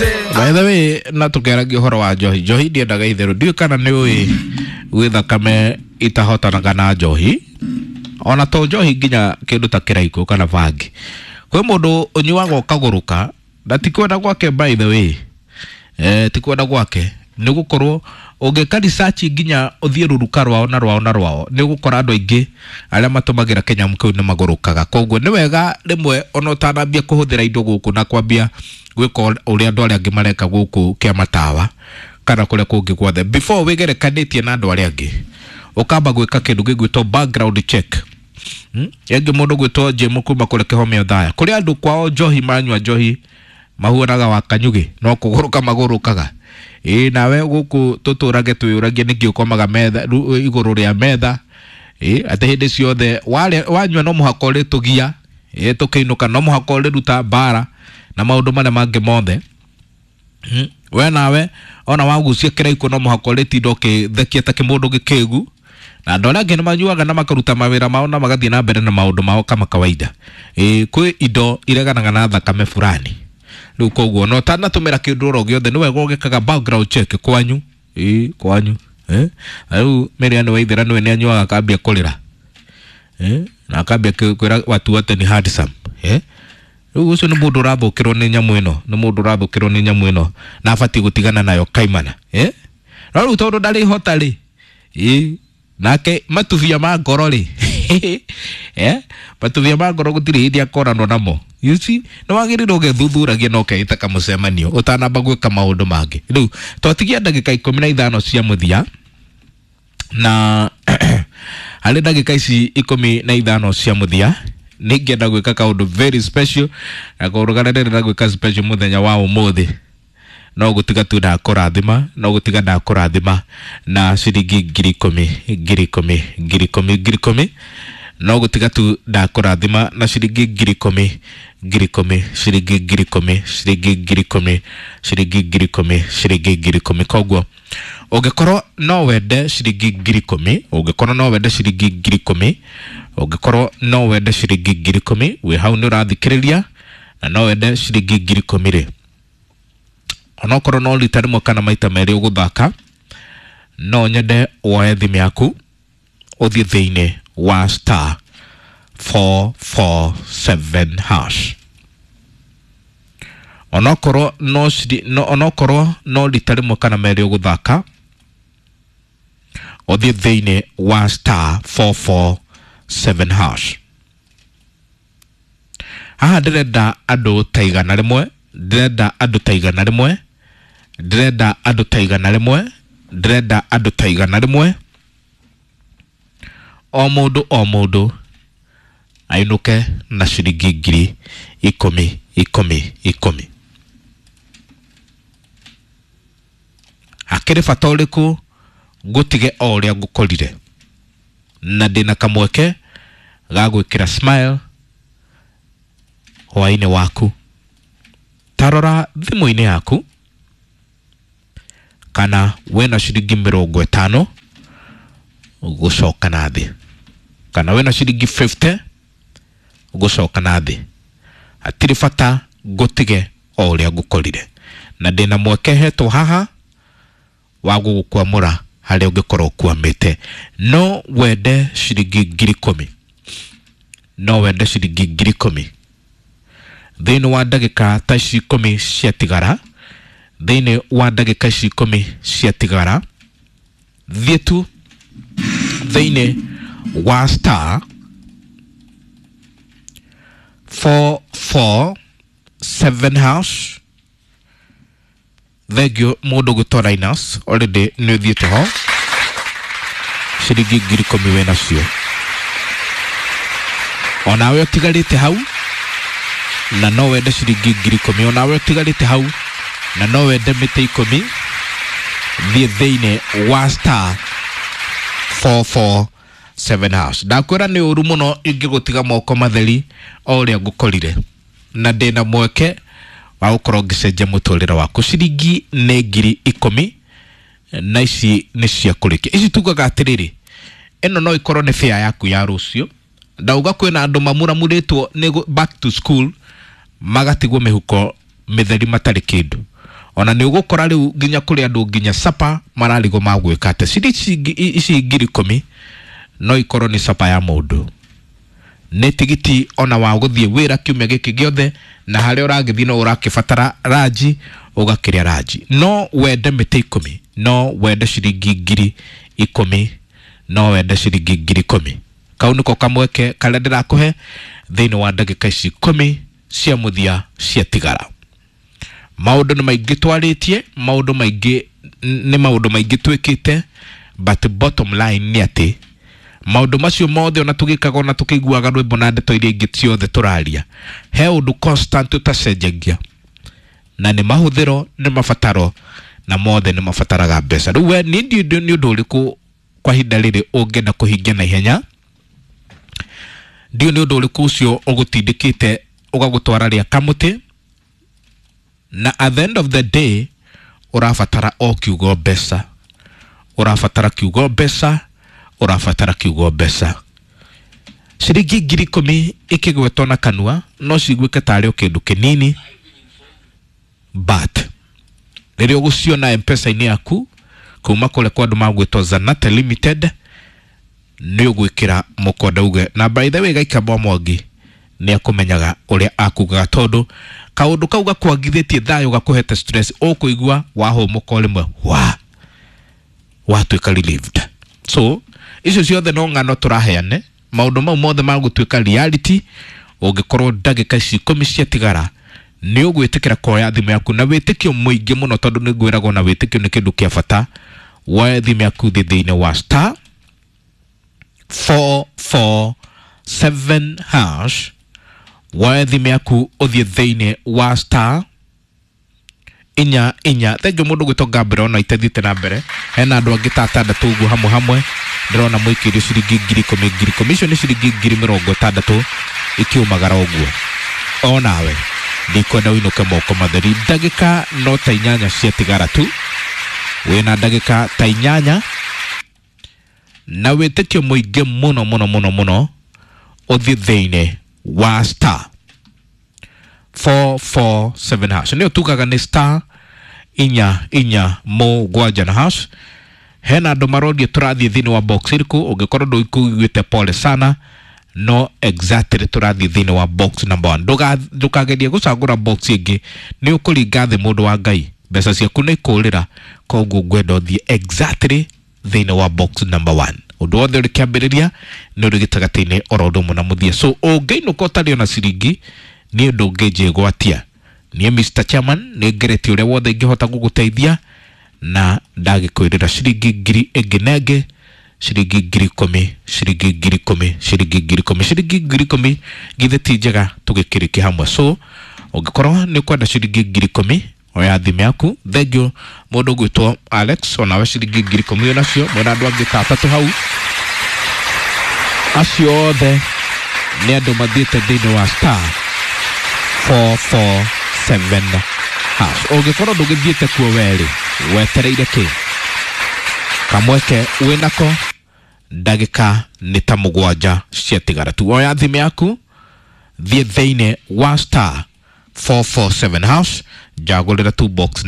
By the way, na tukeragia ũhoro wa njohi, njohi ndiendaga itherũ. Ndiũĩ kana nĩ ũĩ gwĩ thakame itahotanaga na njohi, ona to njohi, nginya kĩndũ ta kĩraikũ kana bangi. Kwĩ mũndũ ũnyuaga ũkagũrũka, na ti kwenda gwake, by the way, ti kwenda gwake, nĩ gũkorwo ũngĩka research nginya ũthiĩ rũruka rwao na rwao na rwao, nĩ ũgũkora andũ aingĩ arĩa matũmagĩra kĩnyamũ kĩu nĩ magũrũkaga. Koguo nĩ wega rĩmwe ona ũtanambia kũhũthĩra indo gũkũ na kwambia gwĩka ũrĩa andũ arĩa angĩ mareka gũkũ kĩa matawa kana kũrĩa kũngĩ guothe, before wĩgerekanĩtie na andũ arĩa angĩ, ũkamba gwĩka kĩndũ gĩgwĩtwo background check. Ĩngĩ mũndũ gwĩtwo Jim kuma kũrĩa Kĩhomeo Thaya, kũrĩ andũ kwao njohi manyua njohi mahuanaga wa kanyugĩ, no kũgũrũka magũrũkaga. Ĩĩ, nawe gũkũ tũtũrage twĩyũragia nĩkĩ ũkomaga metha igũrũ rĩa metha, ĩ atĩ hĩndĩ ciothe wanyua no mũhaka ũrĩtũgia, ĩ tũkĩinũka no mũhaka ũrĩruta mbara na maũndũ marĩa mangĩ mothe. We nawe ona wagucia kĩraikũ no mũhaka ũrĩtinda ũkĩthekia ta kĩmũndũ gĩkĩgu, na andũ arĩa angĩ nĩ manyuaga na makaruta mawĩra mao na magathiĩ na mbere na maũndũ mao kama kawaida. Ĩ kwĩ indo ireganaga na thakame fulani. Rĩu koguo no ũtanatũmĩra kĩndũ oro gĩothe, nĩ wega ũgĩkaga background check kwanyu, ĩ kwanyu, eh. Na rĩu Mary Waithera nĩwe nĩ anyuaga akambia kũrĩra, eh, na akambia kwĩra watu wote ni handsome, eh. Rĩu ũcio nĩ mũndũ ũrathũkĩrwo nĩ nyamũ ĩno, nĩ mũndũ ũrathũkĩrwo nĩ nyamũ ĩno na abatiĩ gũtigana nayo kaimana, eh. No rĩu tondũ ndarĩhota rĩ, ĩ nake matubia ma ngoro rĩ, eh, matubia ma ngoro gũtirĩ hĩndĩ akoranwo namo. You see, nĩ wagĩrĩirwo ũgethuthuragia na ũkeĩta kamũcemanio ũtanamba gwĩka maũndũ mangĩ. Rĩu twatigia ndagĩka 15 cia mũthia, na harĩ ndagĩka ici 15 cia mũthia nĩ ingĩenda gwĩka kaũndũ very special, na kaũndũ karĩa ndĩrenda gwĩka special mũthenya wa ũmũthĩ no gũtiga tu ndakũrathima, no gũtiga ndakũrathima na ciringi 10,000, 10,000, 10,000, 10,000. No gũtiga tu ndakũrathima na ciringi 10,000, 10,000, ciringi 10,000, ciringi 10,000, ciringi 10,000, ciringi 10,000. Koguo ũngĩkorwo no wende ciringi 10,000, ũngĩkorwo no wende ciringi 10,000, ũngĩkorwo no wende ciringi 10,000, wĩ hau nĩ ũrathikĩrĩria na no wende ciringi 10,000 rĩ, onokorwo no rita rĩmwe kana maita merĩ ũgũthaka, no nyende woe thimũ yaku ũthiĩ thĩinĩ wa star 447 hash. Onokorwo no no, onokorwo no rita rĩmwe kana merĩ ũgũthaka, ũthiĩ thĩinĩ wa star 447 hash. Haha ndĩrenda andũ ta 100, ndĩrenda andũ ta 100, ndĩrenda andũ ta 100, ndĩrenda andũ ta 100, o mũndũ o mũndũ ainũke na ciringi 10,000, 10, 10. Hakĩrĩ bata ũrĩkũ ngũtige o ũrĩa ngũkorire, na ndĩna kamweke ga gwĩkĩra smile hwaĩ-inĩ waku? Tarora thimũ-inĩ yaku kana wĩna ciringi 50 gũcoka na thĩ, kana wĩna ciringi 50 gũcoka na thĩ. Hatirĩ bata ngũtige o ũrĩa ngũkorire, na ndĩna mweke hetwo haha wa gũgũkwamũra harĩa ũngĩkorwo ũkwamĩte. No wende ciringi 10,000, no wende ciringi 10,000 thĩinĩ wa ndagĩka ta ici 10 ciatigara, thĩinĩ wa ndagĩka ici 10 ciatigara, thiĩ tu thĩinĩ wa star 447 hash. Thengio mũndũ gwĩtwo Linus, already nĩ ũthiĩte ho, ciringi 10,000 wĩ nacio. Onawe ũtigarĩte hau na no wende ciringi 10,000, onawe ũtigarĩte hau na no wende mĩtĩ 10, thiĩ thĩinĩ wa star 447 hash. Ndakwĩra nĩ ũru mũno ingĩgũtiga moko matheri o ũrĩa ngũkorire, na ndĩna mweke wa gũkorwo ngĩcenjia mũtũrĩre waku. Ciringi nĩ 10,000, na ici nĩ cia kũrĩkia. Ici tugaga atĩrĩrĩ, ĩno no ĩkorwo nĩ fare yaku ya rũciũ. Ndauga kwĩna andũ mamuramurĩtwo nĩ back to school magatigwo mĩhuko mĩtheri matarĩ kĩndũ. Ona nĩ ũgũkora rĩu nginya kũrĩ andũ nginya sapa mararigwo magwĩka atĩ ciringi ici 10,000 no ikorwo nĩ sapa ya mũndũ, nĩ tigiti ona wa gũthiĩ wĩra kiumia gĩkĩ gĩothe, na harĩa ũragĩthiĩ no ũrakĩbatara ranji ũgakĩrĩa ranji. No wende mĩtĩ 10, no wende ciringi 10,000, no wende ciringi 10,000. Kau nĩko kamweke karĩa ndĩrakũhe thĩinĩ wa ndagĩka ici 10 cia mũthia ciatigara. Maũndũ nĩ maingĩ twarĩtie, maũndũ maingĩ nĩ maũndũ maingĩ twĩkĩte, but bottom line nĩ atĩ maũndũ macio mothe ona tũgĩkaga ona tũkĩiguaga rwĩmbo na ndeto iria ingĩ ciothe tũraria, he ũndũ constant ũtacenjagia, na nĩ mahũthĩro, nĩ mabataro, na mothe nĩ mabataraga mbeca. Rĩu we nĩ nĩ ũndũ ũrĩkũ kwa ihinda rĩrĩ ũngĩenda kũhingia na ihenya? Ndiũ nĩ ũndũ ũrĩkũ ũcio ũgũtindĩkĩte ũgagũtwara rĩa kamũtĩ, na at the end of the day ũrabatara o kiugo mbeca, ũrabatara kiugo mbeca, ũrabatara kiugo mbeca. Ciringi 10,000 ikĩgwetwo na kanua no ciguĩke tarĩ o kĩndũ kĩnini, but rĩrĩa ũgũciona M-Pesa-inĩ yaku kuma kũrĩa kwa andũ magwĩtwo Zanate Limited, nĩ ũgwĩkĩra mũkonde uge. Na by the way, Gaikamwa Mwangi nĩ akũmenyaga ũrĩa akugaga, tondũ kaũndũ kau gakwagithĩtie thayũ, gakũhete stress, ũkũigua wahũmũka o rĩmwe wa watuĩka relieved. So icio ciothe no ng'ano tũraheane, maũndũ mau mothe magũtuĩka reality ũngĩkorwo ndagĩka ici 10 ciatigara nĩ ũgwĩtĩkĩra kuoya thimũ yaku na wĩtĩkio mũingĩ mũno, tondũ nĩ ngwĩragwo na wĩtĩkio nĩ kĩndũ kĩa bata. Woe thimũ yaku thĩ thĩinĩ wa star 447 hash, woe thimũ yaku ũthiĩ thĩinĩ wa star inya inya. Thengiũ mũndũ gwĩtwo Gabriel ona itathiĩte na mbere, hena andũ angĩ ta atandatũ ũguo hamwe hamwe ndĩrona mũikĩirio ciringi 10,000 10,000, icio nĩ ciringi 60,000 ikiumagara ũguo. Onawe ndikwenda ũinũke moko matheri, ndagĩka no ta 8 ciatigara tu, wĩna ndagĩka ta 8 na wĩtĩkio mũingĩ mũno mũno mũno mũno, ũthiĩ thĩinĩ wa star 447 hash, nĩyo tugaga nĩ star inya inya mũgwanja na hash. Hena andũ maroria tũrathiĩ thĩinĩ wa box ĩrĩkũ. Ũngĩkorwo ndũikuĩte pole sana, no exactly tũrathiĩ thĩinĩ wa box number 1. Ndũkagerie gũcagũra box ĩngĩ, nĩ ũkũringa thĩ mũndũ wa Ngai, mbeca ciaku nĩ ikũrĩra. Koguo ngwenda ũthiĩ exactly thĩinĩ wa box number 1. Ũndũ wothe ũrĩ kĩambĩrĩria nĩ ũrĩ gĩtagatĩ-inĩ oro ũndũ ũmwe na mũthia. So ũngĩinũka ũtarĩ ona ciringi, niĩ ndũngĩnjĩgwatia. Niĩ Mr Chairman nĩ ngeretie ũrĩa wothe ingĩhota gũgũteithia, na ndagĩkwĩrĩra ciringi ngiri ĩngĩ na ĩngĩ, ciringi 10,000, ciringi 10,000, ciringi 10,000, ciringi 10,000, githĩ ti njega tũgĩkĩrĩkia hamwe? So ũngĩkorwo nĩ ũkwenda ciringi 10,000, oya thimũ yaku. Thengiũ mũndũ ũgwĩtwo Alex, onawe ciringi 10,000 onacio, mwĩna andũ angĩ ta atatũ hau. Acio othe nĩ andũ mathiĩte thĩinĩ wa star 447 hash. Ũngĩkorwo ndũgĩthiĩte kuo werĩ, wetereire kĩ? Kamweke wĩnako, ndagĩka nĩ ta 7 ciatigara tu. Oya thimũ yaku, thiĩ thĩinĩ wa star 447 hash, njagũrĩra tu box.